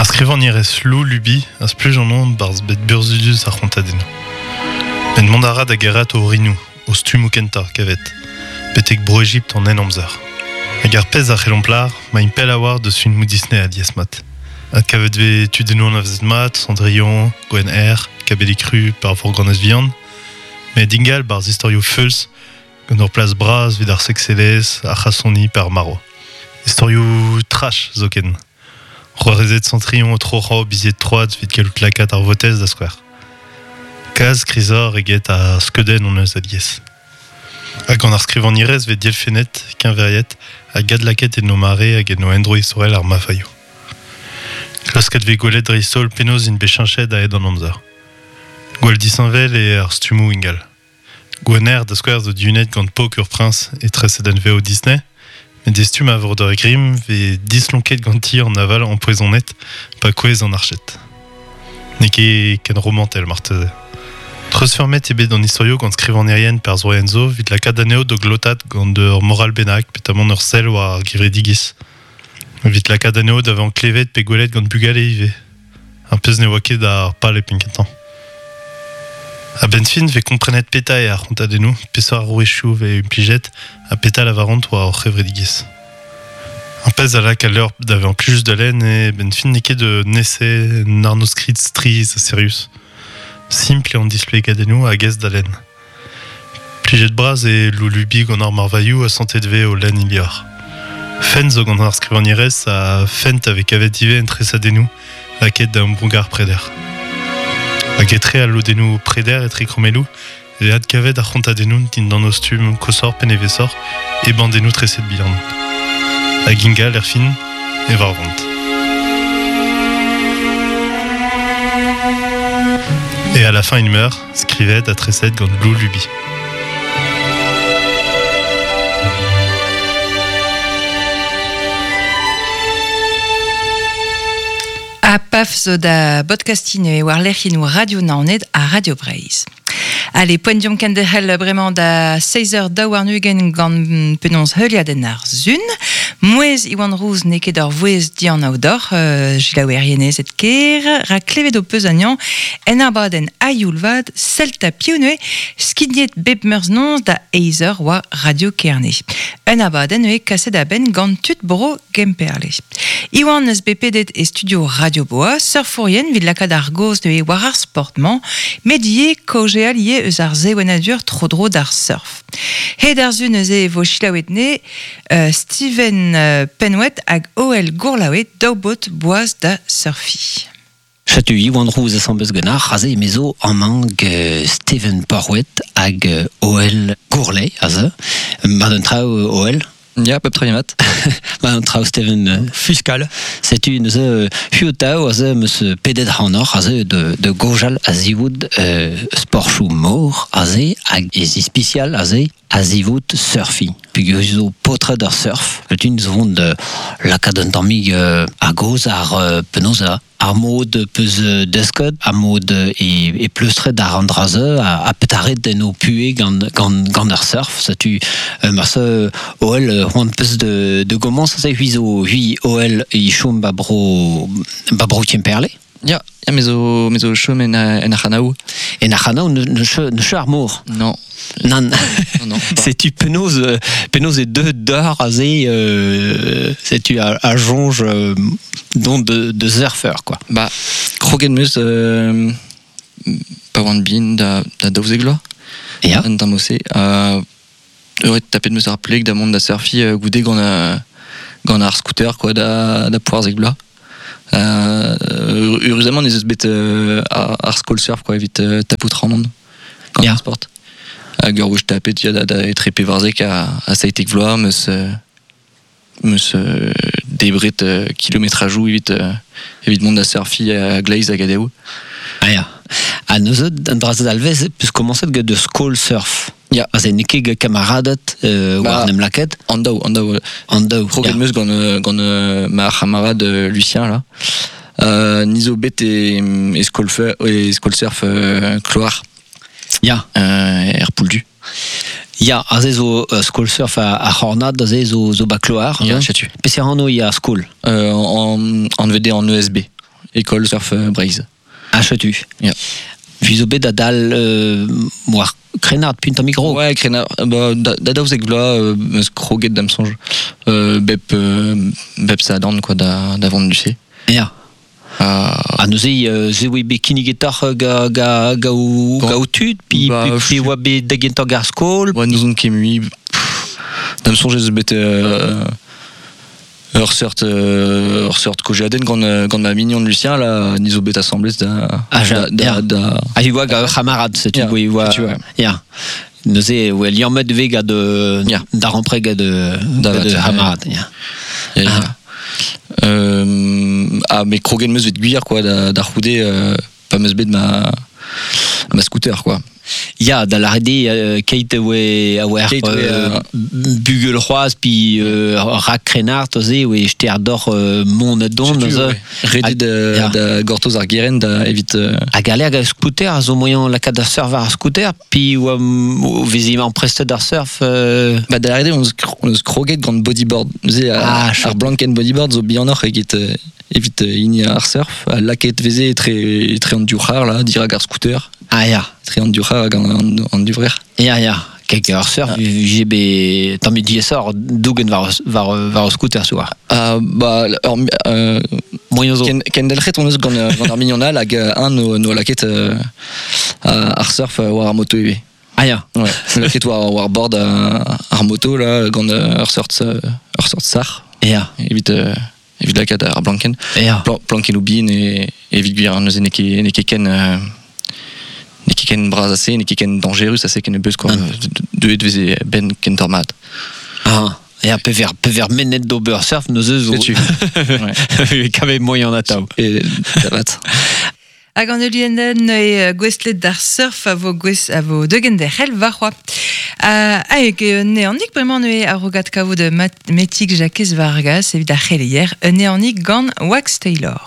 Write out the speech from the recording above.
Ar skrivagnerez Lou Luby a spluj an on 'barzh bed burzhudus ar c'hontadennoù. Met mont a ra da gerc'hat o orinoù, o stummoù kentañ, kavet, betek Bro-Ejipt an Henamzer. Hag ar pezh a c'hellomp lâr, 'maint pell a-walc'h deus filmoù Disney alies-mat. Adkavet 'vez tudennoù anavezet mat, Cendrillon, Gwenn Erc'h, Kabellig Ru pe ar Vorganez Vihan, met ingal 'barzh istorioù feuls gant ur plas bras evit ar sekselezh, ar c'hasoni pe ar marv. Istorioù trash zoken. C'hoarezed Centrion o troc'hañ o bizied troad evit gallout lakaat ar votez da skouer. Kalz krizoc'h eget ar skeudenn hon eus alies. Ha gant ar skrivagnerez 'vez dielfennet, keñveriet hag adlakaet en o mare hag en o endro istorel ar mafaioù. Klasket 'vez gwelet dreist-holl penaos int bet cheñchet a-hed an amzer. Gwall disheñvel eo ar stummoù ingal. Gwener, da skouer, zo dihunet gant pok ur priñs e tresadenn-vev Disney, met e stumm a Vreudeur Grimm 'vez dislonket ganti an aval ampoezonet pa kouezh an arched. N'eo ket ken romantel marteze. Treuzfeurmet eo bet an istorioù gant skrivagnerien perzhvoaien zo evit lakaat anezho da glotaat gant ur moral bennak petamant ur sell war ar gevredigezh. Evit lakaat anezho da vezañ klevet pe gwelet gant bugale ivez. Ar pezh ne oa ket ar pal e penn-kentañ. A-benn fin 'vez komprenet petra eo ar c'hontadennoù, peseurt arouezioù 'vez implijet ha petra lavaront war hor c'hevredigezh. Ar pezh a lak al levr da vezañ plijus da lenn eo a-benn fin n'eo ket un ese, un arnodskrid strizh ha sirius. Simpl eo an displegadennoù hag aes da lenn. Plijet-bras eo Loulubi gant ar marvailhoù ha santet 'vez o lenn he levr. Fent zo gant ar skrivagnerez ha fent a vez kavet ivez en tresadennoù lakaet da ambroug ar preder. Hag etre al lodennoù preder etre krommelloù e vez adkavet ar c'hontadennoù dindan o stumm koshoc'h pe nevesoc'h e bandennoù treset bihan. Hag ingal erfin e varvont. Et à la fin il meurt, skrivet ha treset gant Lou Luby. Ha paf zo da bodkastin e war lec'hiennoù Radio Naoned ha Radio Breizh. Allez, poent deomp kenderc'hel bremañ da 6h22 gant penaos heuliadenn ar sun. Mouezh Iwan Rouz n'eo ket ur vouezh dianav deoc'h, euh, selaouerienezed ker, rak klevet ho peus anezhañ en abadenn a-youl vat Celta piv neuze, skignet bep meurzh noz da eizh eur war Radio Kerne. Un abadenn neuze kaset a-benn gant tud bro Gemperle. Iwan eus bet pedet e studio Radio Boa, surfourien evit lakaat ar gaoz neuze war ar sport-mañ, met ivez kaozeal ivez eus ar sevenadur tro-dro d'ar surf. Hed ar su neuze e vo selaouet ne euh, Steven euh, Penouet hag Oel Gourlaoue, daou baotr boaz da surfiñ. Setu Iwan Rouz asambles ganeoc'h aze emezo amañ gant Steven Porrouet hag Hoel Gourlay aze. Mat an traoù Hoel? Ya, pep tra mat. Mat an traoù Steven. Fiskal. Setu neuze huotaoù aze 'm eus pedet ac'hanoc'h aze de gojal a-zivout sporchoù mor aze hag ez ispisial aze a-zivout surfiñ peogwir zo paotred ar surf setu zo vont da lakaat un tammig a-gozh ar penaos ar mod peus desket ar mod e pleustret àr an dra-se ha petra ret en ho puhez gant gant gant ar surf setu marse Hoel c'hoant peus de gomañs aze c'hwi zo c'hwi Hoel e chom ba bro ba bro Kemperle Ya, ya me zo, me zo chom en, en Arc'hanaou. En Arc'hanaou, ne, ne, ne cheu ar mor Non. Nann. Non, non. Setu penaos, penaos e deuet d'heure aze, euh, setu a, a soñj euh, dont de, de surfer, quoi. Ba, kroget 'm eus euh, pa oan bihan da, da daouzek vloaz. Ya. Un tamm ose. Ha ouais, tapet 'm eus ar pleg da mont da surfiñ goude gant, gant ar scooter quoi, da, da poarzek vloaz. Heureusement ez eus bet ar skol surf quoi, evit tapout Ramon gant ar sport. Hag ur wech tapet ya, da, da etre pevarzek ha 17 vloaz 'm eus 'm eus debret kilometrajoù evit evit mont da surfiñ a-gleiz hag a-dehoù. Ah ya. Ha neuze, an dra-se dalvez, peus komañset gant ur skol surf. Ya. Aze n'eo ket gant kamaraded war Bah, en em lakaet. An daou, an daou. An daou. Kroget ya. 'm eus gant gant ma c'hamarad Lucien là. Ni zo bet e, e skol e skol surf Kloar. Ya. Er Pouldu. Ya, aze zo skol surf ar c'hornad, aze zo, zo ba Kloar. Ya, setu. Peseurt anv ya skol Anvet eo an ESB. École surf Breizh. Ah, chetu. Ya. Vi zo bet da dal war krenard punt an micro. Ouais, krenard, ba, da daouzek vloaz, meus kroget da'm soñj. Bep sadorn, quoi, da vont du C. Ya. Ha neuze, ze oa bet kinnigetoc'h ga o tud, pi, Ba, pi, pi oa bet da gentañ gar skol. Ouais, nous on ket mui, da'm soñj ez eus bet ur seurt kojadenn gant ma mignon Lucien, là, ni zo bet asamblez da, Ah, ja, da, da, ya. da Ah, i oa ga ur c'hamarad, setu, Ya, oa, oa, setu, ouais. ya. Neuze, oa liammet ve gant, Ya. da rampreg Da gant vat, ouais. c'hamarad, ya. Ya, ya. Ah. Ah, mais kroget meus vet gwir, quoi, da c'houde, pa meus bet ma scooter, quoi. Ya, da lâret eo, keit oa, a oa Keit oa, bugel c'hoazh, pi rak krennard, aze, oa ster doc'h mont a dont, Setu, aze. ouais. Redet Ya. da gortoz ar geren da evit, Hag a lerg a scooter, a zo moyen lakaat da surf war ar scooter, pi oa, o vezi amprestet ar surf, Ba, da lâret eo, on eus kroget gant bodyboard. Neuze, Ah, ar chouette. blankenn bodyboard zo bihanoc'h evit hini ar surf, ha lakaet veze etre an div c'har, là, dirak ar scooter. Ah, ya. Etre an div c'har hag an divrec'h. Ya, ya. Kek ar surf, Ah. j'ai bet tamm diaesoc'h dougen war ar scooter soar. Ah, ba, ur, Moyen zo. Kendelc'het on eus gant ar mignon all hag un no lakaet ar surf war ar moto ivez. Ah, ya. Ouais, lakaet war bord ar moto, là, gant ur seurt sac'h. Ya. Evit lakaat ar blankenn. Ya. Plankennoù bihan e, evit gwir, neuze n'eo ket, n'eo ket ken, n'eo ket ken bras ase, n'eo ket ken dañjerus ase ken beus, quoi. Deuet veze ben kentoc'h mat. Ah. Ya, pever mennet d'ober surf, neuze zo. Setu. Ouais. Kavet moyen atav. E da vat. Hag an eulienen e gwestlet d'ar surf a vo gwez a vo deugen derc'hel war c'hoa. Hag neanik bremañ neue a rogat kavout metik Jakez Vargas evit ar c'heleier, neanik gant Wax Taylor.